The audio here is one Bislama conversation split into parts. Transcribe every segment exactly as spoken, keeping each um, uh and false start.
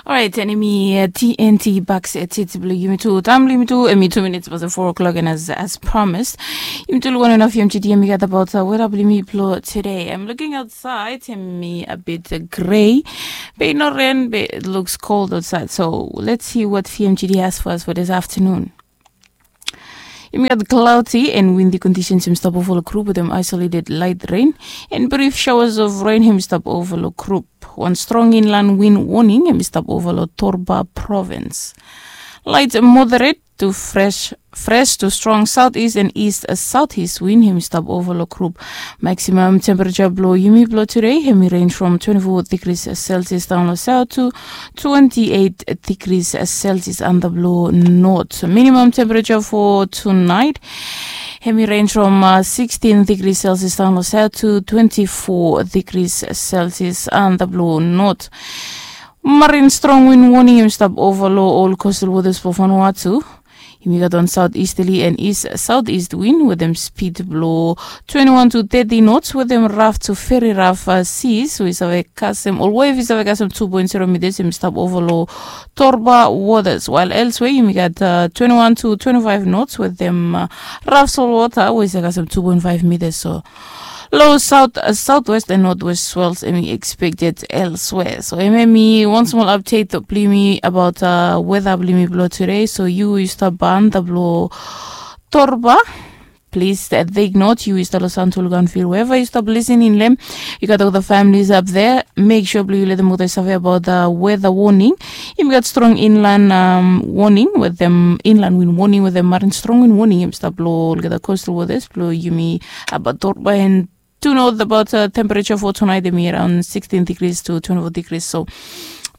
Orait, and emi uh, T N T bak se titi blo yumi tu. Taem blo yumi tu, emi two minutes past four o'clock, and as as promised, yumi tu luwan enough yumi titi yumi gat about uh, weda blo yumi blo today. I'm looking outside, emi a bit uh, gray. Be no rain, be it looks cold outside. So let's see what F M G D has for us for this afternoon. Yumi gat cloudy and windy conditions yumi stap over lo group with them isolated light rain and brief showers of rain yumi stap over lo group. One strong inland wind warning yumi stap over lo Torba province. Light moderate to fresh fresh to strong southeast and east southeast wind yumi stap over lo group. Maximum temperature blo yumi blo today hemi range from twenty-four degrees Celsius down lo south to twenty-eight degrees Celsius under blo north. Minimum temperature for tonight hemi range from uh, sixteen degrees Celsius down lo south to twenty-four degrees Celsius under blo north. Marine strong wind warning yumi stap over lo all coastal waters for Vanuatu. Yumi gat on southeasterly and east southeast wind with them speed blo twenty-one to thirty knots with them rough to very rough uh, seas. So we save kasem all wave we save kasem two point zero meters yumi stap over lo Torba waters. While elsewhere yumi gat uh, twenty-one to twenty-five knots with them uh, rough salt water we save kasem two point five meters. So Low south, uh, southwest and northwest swells emi expected elsewhere. So emi emi one small update blo yumi about uh, weather blo yumi blo today. So yu yu stap ban da blo Torba. Please uh, take note yu yu stap lo Santul Ganfil wherever yu stap listening lem. Yu gat all the families up there. Make sure blo yu let them know save about the weather warning. Yumi gat strong inland um, warning with them inland wind warning with them marine strong wind warning yumi stap lo olgeta coastal waters blo yumi about Torba and to know about uh, temperature for tonight emi around sixteen degrees to twenty-four degrees. So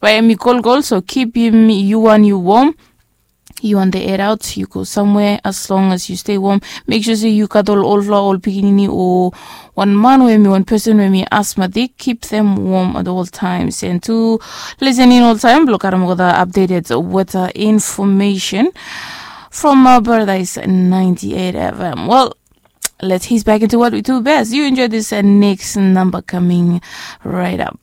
bae emi kolkol so kipim yu wan yu warm. Yu wan de head out yu go somewhere as long as yu stay warm. Make sure se yu gat ol olfala ol pikinini o wan man o emi wan person o emi asthmatic, keep them warm at all times and to listen in all time blo karem olgeta updated weather information from uh, Paradise ninety-eight F M. Well, let's ease back into what we do best. You enjoy this uh, next number coming right up.